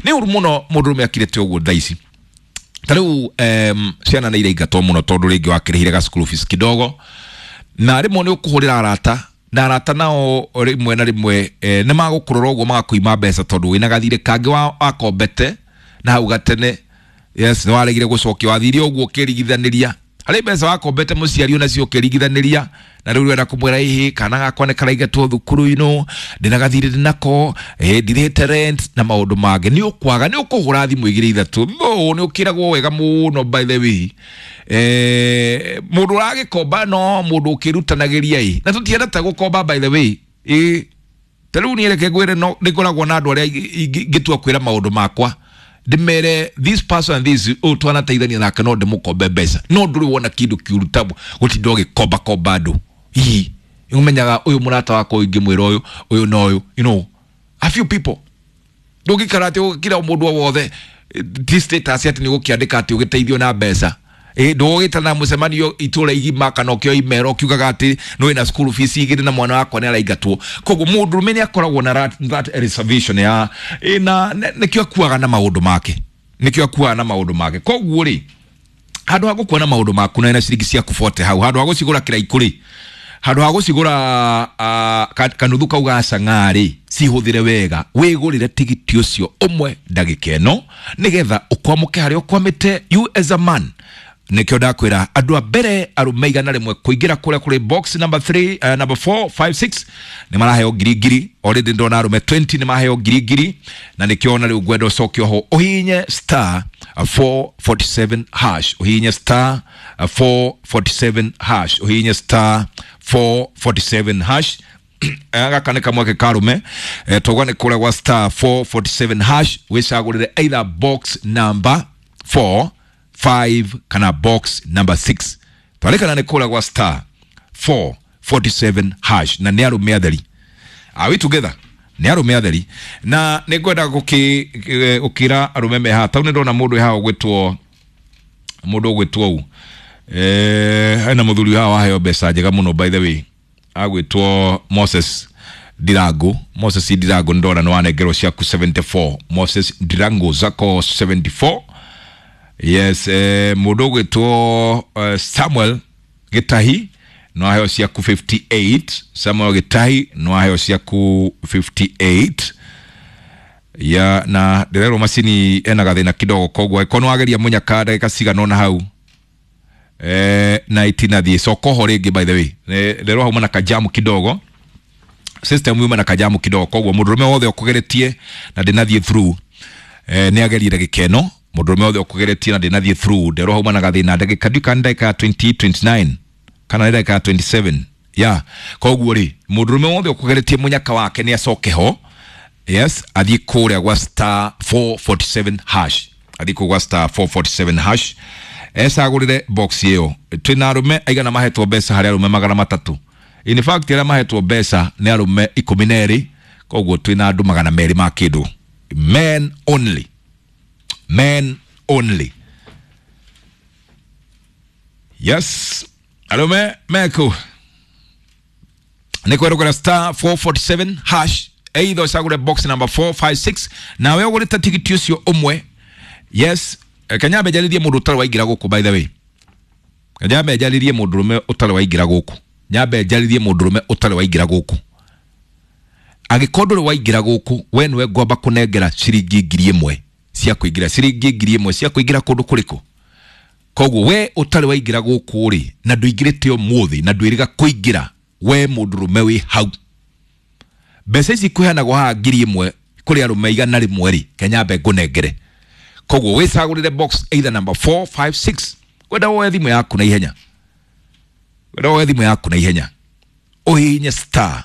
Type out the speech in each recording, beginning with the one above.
Nĩ ũru mũno mũndũrũme akirĩte ũguo thaa ici. Ta rĩu ciana nĩ iraingatwo mũno tondũ rĩngĩ wakĩrĩhire ga school fees kidogo, na rĩmwe nĩ ũkũhũrĩra arata, na arata nao rĩmwe na rĩmwe nĩ magũkũrora ũguo magakũima mbeca tondũ wĩna gathirĩ kangĩ wakombete na hau gatene. Yes, nĩ waregire gũcokia, wathire ũguo ũkĩrigithanĩria harĩ mbeca wakombete mũciari onacio ũkĩrigithanĩria, na rĩu ũrenda kũmwĩra ĩhĩ kana gakwa nĩ karaingatwo thukuru-inĩ, ndĩna gathirĩ ndĩnako, ndirĩhĩte rent na maũndũ mangĩ. Nĩ ũkwaga, nĩ ũkũhũra thimũ igĩrĩ ithatũ, no nĩ ũkĩragwo wega mũno. By the way, mũndũ ũragĩkomba no mũndũ ũkĩrutanagĩria ĩ, na tũtiendete gũkomba, by the way. Ĩ ta rĩu niĩ reke ngwĩre, no nĩ ngoragwo na andũ arĩa ingĩtua kwĩra maũndũ makwa, ndĩmere this person and this, ũyũ twanateithania nake, no ndĩmũkombe mbeca, no ndũrĩ wona kĩndũ kĩũru ta gũtinda ũgĩkomba komba andũ. Hihi ũmenyaga ũyũ mũrata wakwa ingĩmwĩra ũyũ, ũyũ na ũyũ, a few people. Ndũngĩikara atĩ ũgĩkira mũndũ o wothe, ti status atĩ nĩ ũgũkĩandĩka atĩ ũgĩteithio na mbeca. Ndũgũgĩtana mũcemanio itũra igima kana ũkĩo email ũkiugaga atĩ nĩ wĩna school fees igĩrĩ na mwana wakwa nĩ araingatwo. Koguo mũndũrũme nĩ akoragwo na that reservation ya na nĩkĩo akuaga na maũndũ make, nĩkĩo akuaga na maũndũ make. Koguo rĩ, handũ ha gũkua na maũndũ maku na ciringi ciaku 40 hau, handũ ha gũcigũra kĩraikũ rĩ, handũ ha gũcigũra kanuthu kau ga cang'aa rĩ, cihũthĩre wega, wĩgũrĩre tigiti ũcio ũmwe ndagĩka ĩno nĩgetha ũkwamũke harĩa ũkwamĩte, you as a man. Nĩkĩo ndakwĩra andũ a mbere arũme 100 kũingĩra kũrĩa kũrĩ box number 3, number 4, 5, 6 nĩ maraheo ngiri ngiri. Already ndona arũme 20 nĩ maheo ngiri ngiri, na nĩkĩo ona rĩu ngwenda ũcoke oho ũhihinye star 447 hash, ũhihinye star 447 hash, ũhihinye star 447 hash. Gaka nĩ kamweke karume, tauga nĩ kũrĩa gwa star 447 hash, wĩcagũrĩre either box number 4, 5 kana box number 6. Twarĩkana nĩ kũrĩa gwa star 447 hash, na nĩ arũme atheri. Are we together? Nĩ arũme atheri, na nĩ ngwenda gũkĩra arũme me haha. Tau nĩ ndona mũndũ haha ũgwĩtwo, mũndũ ũgwĩtwo u, hena mũthuri haha waheo mbeca njega mũno, by the way, agwĩtwo Moses Ndirangu. Moses Ndirangu, nĩ ndona nĩ wanengerwo ciaku 74. Moses Ndirangu, zako 74. Yes, mũndũ ũgwĩtwo Samuel Gĩtahi no aheo ciaku 58. Samuel Gĩtahi no aheo ciaku 58 ya, na ndĩrerwo macini ena gathĩna kidogo, koguo angĩkorwo nĩ wageria mũnyaka ndagĩka cigana ũna hau na itinathiĩ, coka oho rĩngĩ. By the way, ndĩrerwo hauma na kajamu kidogo, system yuma na kajamu kidogo, koguo mũndũrũme wothe ũkũgeretie na ndĩnathiĩ through, nĩ agerie ndagĩka ĩno. Mũndũrũme wothe ũkũgeretie na ndĩnathiĩ through, nderwo hauma na gathĩna ndagĩka, ndiũ kana ndagĩka ya 20, 29 kana nĩ ndagĩka ya 27 ya. Koguo rĩ, mũndũrũme wothe ũkũgeretie mũnyaka wake nĩ acoke ho. Yes, athiĩ kũrĩa gwa star 447 hash, athiĩ kũu gwa star 447 hash, ecagũrĩre box ĩyo. Twĩna arũme aigana mahetwo mbeca? Harĩ arũme 300. In fact, arĩa mahetwo mbeca nĩ arũme 12, koguo twĩna andũ 200 ma kĩndũ. Men only, men only. Yes, arũme meku nĩ kwerũkĩra star 447 hash, either ũcagũre box number 4, 5, 6, nawe ũgũrĩte tigiti ũcio ũmwe. Yes, kanyambe njarĩrie mũndũ ũtarĩ waingĩra gũkũ. By the way, nyambe njarĩrie mũndũrũme ũtarĩ waingĩra gũkũ, nyambe njarĩrie mũndũrũme ũtarĩ waingĩra gũkũ. Angĩkorwo ndũrĩ waingĩra gũkũ, we nĩwe ngwamba kũnengera ciringi 1000 cia kũingĩra, ciringi 1000 cia kũingĩra kũndũ kũrĩkũ. Koguo we ũtarĩ waingĩra gũkũ rĩ, na ndũingĩrĩte ũmũthĩ na ndwĩrĩga kũingĩra, we mũndũrũme wĩ hau, mbeca ici kũheanagwo haha 1000 kũrĩ arũme 100 rĩ, kenyambe ngũnengere. Koguo wĩcagũrĩre box either number 4, 5, 6. Kwenda woe thimũ yaku na ihenya, kwenda woe thimũ yaku na ihenya, ũhihinye star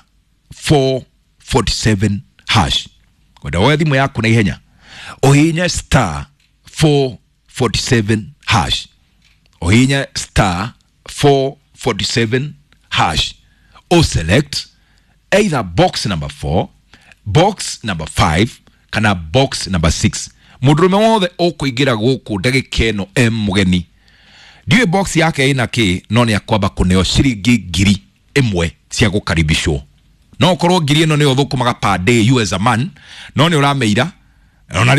447 hash. Kwenda woe thimũ yaku na ihenya, ũhihinye star 447 hash, ũhihinye star 447 hash, o select either box number 4, box number 5 kana box number 6. Mũndũrũme wothe ũkũingĩra gũkũ ndagĩka ĩno e mũgeni, ndiũĩ box yake ĩna kĩ, no nĩ akwamba kũneo ciringi 1000 cia gũkaribishwo. No ũkorwo ngiri ĩno nĩyo thũkũmaga per day, you as a man, no nĩ ũrameira ona.